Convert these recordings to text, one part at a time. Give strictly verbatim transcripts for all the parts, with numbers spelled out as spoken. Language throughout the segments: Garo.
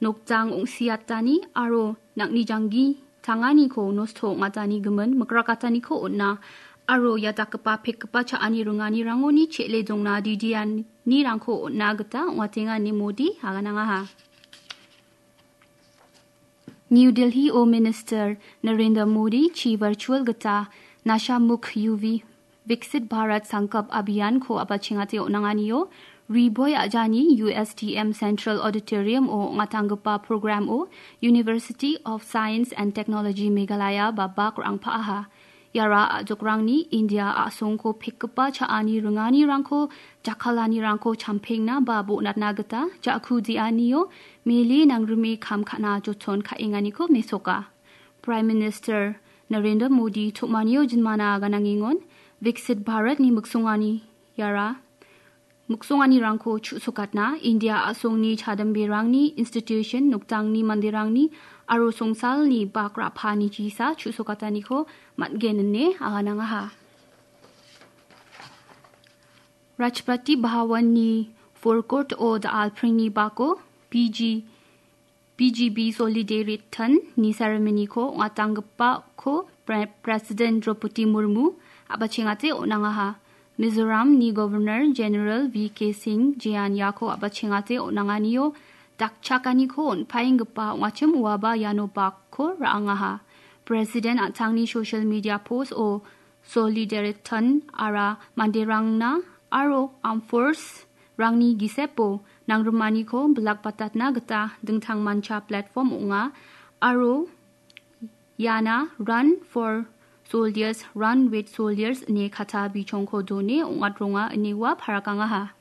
nokjang ong·siatani aro nang·ni janggi tanganiko nosto ong·atani gimin mikrakataniko on·a aro ia dakgipa pekgipa cha·ani ringanirangoni che·le dongna didianirangko on·a gita ong·atenga ine Modi aganangaha. New Delhi-o Minister Narendra Modi chi virtual gita Nasha Mukh Yuva Viksit Bharat Sankalp Abhiyan-ko a·bachengate on·anganio Ri Bhoi a·jani U S T M Central Auditorium-o ong·atanggipa program-o University of Science and Technology Meghalaya ba bak rangpa·aha. Iara a·jokrangni India a·songko pekgipa cha·ani ringanirangko, jakkalanirangko champengna ba bonatna gita ja·ku de·anio mele nangrime kam ka·na joton ka·enganiko mesoka. Prime Minister Narendra Modi tom·anio jinmana ganangengon Viksit Bharatni miksongani iara miksonganirangko chu·sokatna India a·songni chadamberangni institution, nokdangni manderangni aro songsalni bak ra·pani jisa chu·sokataniko man·gen ine aganangaha. Rashtrapati Bhavan-ni forecourt-o da·alpringni bako P G P G B Solidarity Day-ni ceremony-ko ong·atanggipako Pre-, President Draupadi Murmu a·bachengate on·angaha. Mizoramni Governor General V K Singh Jain iako a·bachengate on·anganio dakchakaniko on·paenggipa ong·achim uaba iano bakko ra·angaha. President an·tangni social media post-o Solidarity Day-ara manderangna aro armed force-rangni gisepo nangrimaniko bilakbatatna gita dingtangmancha platform ong·a aro iana Run for Soldiers, Run with Soldiers ine katta bichongko done ong·atronga ine ua parakangaha.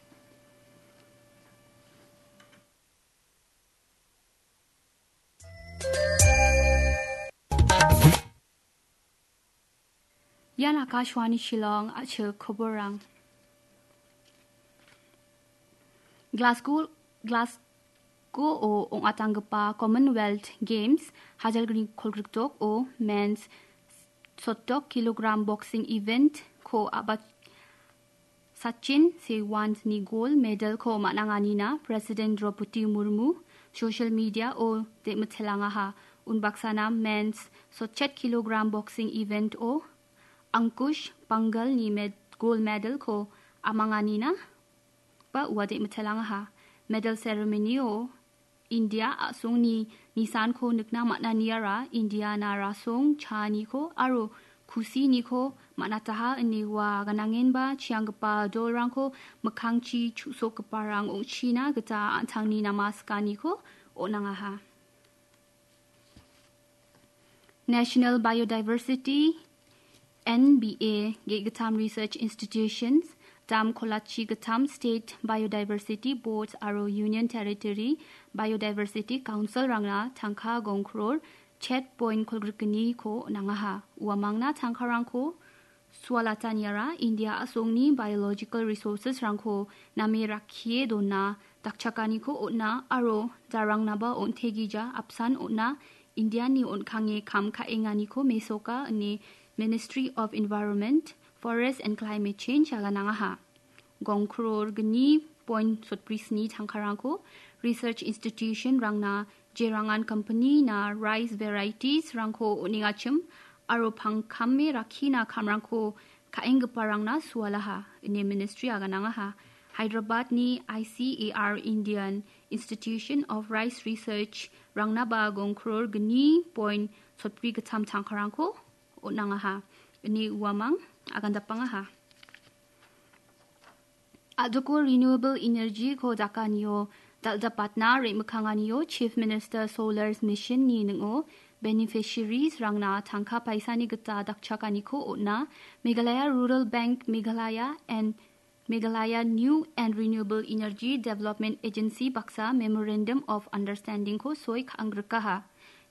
Ian Akashvani Shillong, a·chik koborang. Glasgow, Glasgow-o ong·atanggipa Commonwealth Games hajalgni kolgrikdok-o men's sotdok kilogram boxing event-ko a·ba Sachin Sewant-ni gold medal-ko man·anganina President Draupadi Murmu social media-o de·mitelangaha. Unbaksana men's sotchet kilogram boxing event-o Ankush Pangal-ni med-, gold medal-ko amanganina ba ua de·mitelangaha. Medal ceremony-o India a·songni nisanko nikna man·aniara Indiana rasong, cha·aniko aro kusiniko man·ataha ine ua ganangenba chianggipa dolrangko mikkangchi chu·sokgiparang ong·china gita an·tangni namaskaniko on·angaha. National Biodiversity, N B A, ge·gittam research institutions, dam kolachi gittam state biodiversity boards aro Union Territory Biodiversity Council-rangna tangka gong kror chet point kolgrikgniko on·angaha. Uamangna tangkarangko sualataniara India a·songni biological resources-rangko name rakkie dona dakchakaniko on·a aro jarangnaba on·tegija apsan on·a Indiani on·kange kam ka·enganiko mesoka ine Ministry of Environment, Forest and Climate Change aganangaha. Gong kror gni point sotbri sni tangkarangko research institution-rangna jerangan company-na rice varieties-rangko on·engachim aro pangkame rakkina kamrangko ka·enggiparangna sualaha, ine ministry aganangaha. Hyderabad-ni I C A R Indian Institution of Rice Research-rangnaba gong kror gni point sotbri gittam tangkarangko on·angaha, ine uamang agandapangaha. A·doko renewable energy-ko dakanio dal·dapatna re·mikkanganio Chief Minister Solar Mission-ni ning·o beneficiaries-rangna tangka paisani gita dakchakaniko on·a. Meghalaya Rural Bank Meghalaya and Meghalaya New and Renewable Energy Development Agency baksa Memorandum of Understanding-ko soi ka·anggrikaha.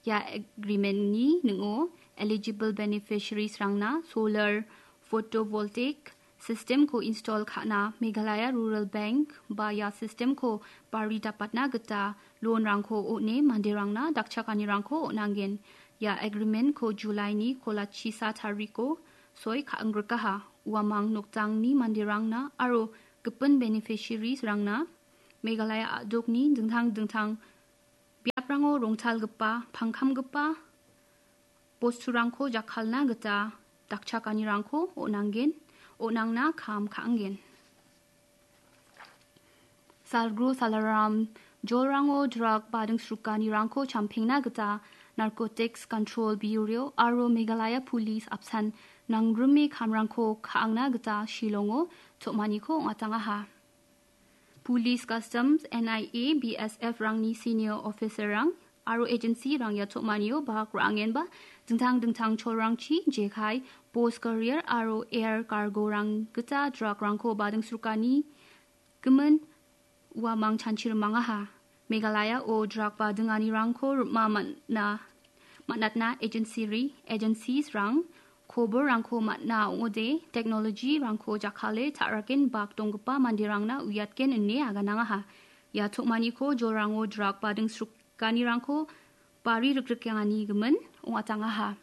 Ia agreement-ni ning·o eligible beneficiaries-rangna solar photovoltaic system-ko install ka·na Meghalaya Rural Bank ba ia system-ko bari dapatna gita loan-rangko on·e manderangna dakchakanirangko on·angen. Ia agreement-ko July-ni kolachisa tariko soi ka·anggrikaha. Uamang nokdangni manderangna aro gipin beneficiaries-rangna Meghalaya a·dokni dingtang dingtang Biaprango rongtalgipa, pangkamgipa bosturangko jakkalna gita dakchakanirangko on·angen, on·angna kam ka·angen. Salgro Salaram jolrango drug bading srukanirangko champengna gita Narcotics Control Bureau aro Meghalaya Police apsan nangrime kamrangko ka·angna gita Shillongo tom·aniko ong·atangaha. Police, Customs, N I A, B S F rangni senior officer-rang aro agency-rang ia tom·anio bahak ra·angenba dingtang dingtang cholrangchi jekai, post carrier aro air cargo-rang gita drug-rangko bading srukani gimin uamang chanchi rimangaha. Meghalaya-o drug badinganirangko rima man·a, man·atna agency-ri, agencies-rang koborrangko man·a ong·ode, technology-rangko jakkale ta·raken bak donggipa manderangna uiatgen ine aganangaha. Ia tom·aniko jolrango drug bading srukanirangko bari rikrikenganigimin ong·atangaha.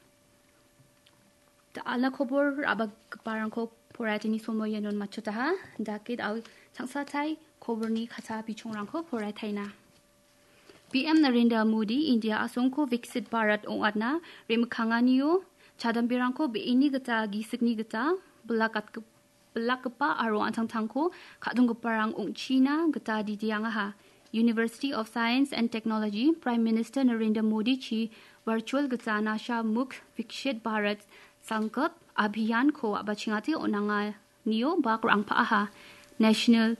Da·alna kobor ra·bagiparangko poraiatani somoianon matchotaha. Dakit au changsatai koborni kata bichongrangko poraiataina. B M Narendra Modi India asongko Viksit Bharat ong·atna re·mikkanganio chadamberangko be·eni gita gisikni gita bilakatgip-, bilakgipa aro an·tangtangko ka·donggiparang ong·china gita didiangaha. University of Science and Technology Prime Minister Narendra Modi-chi virtual gita Nasha Mukt Viksit Bharat Sankalp Abhiyan-ko a·bachengate on·anganio bak ra·angpa·aha. National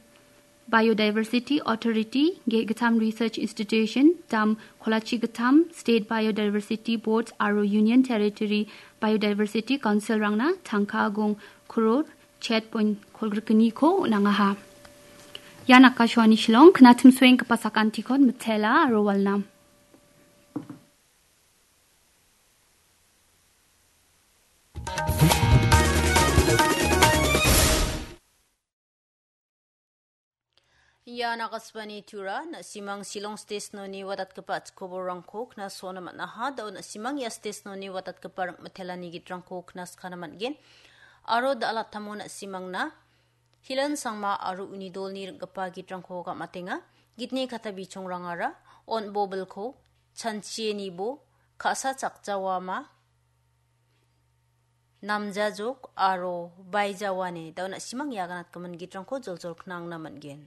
Biodiversity Authority, Ge·, Gittam Research Institution, Dam Kolachi Gittam, State Biodiversity Boards aro Union Territory Biodiversity Council-rangna tangka gong kror chet point kolgrikgniko on·angaha. Ian Akashvani Shillong, knatimsoenggipa sakantikon mitela aro walnam. Ian Akashvani Tura, na·simang Shillong Station-oni watatgipa koborrangko knasona man·aha, da·o na·simang ia station-oni watatgipa ring·mitelani gitrangko knaskana man·gen. Aro da·alatamo na·simangna Hilan Sangma aro uni dolni ring·gipa gitrangko gam·atenga. Gitni kata bichongrangara on bobilko chanchie nibo ka·sa chakjawama, namjajok aro baijawane, da·o na·simang ia ganatgimin gitrangko joljol knangna man·gen.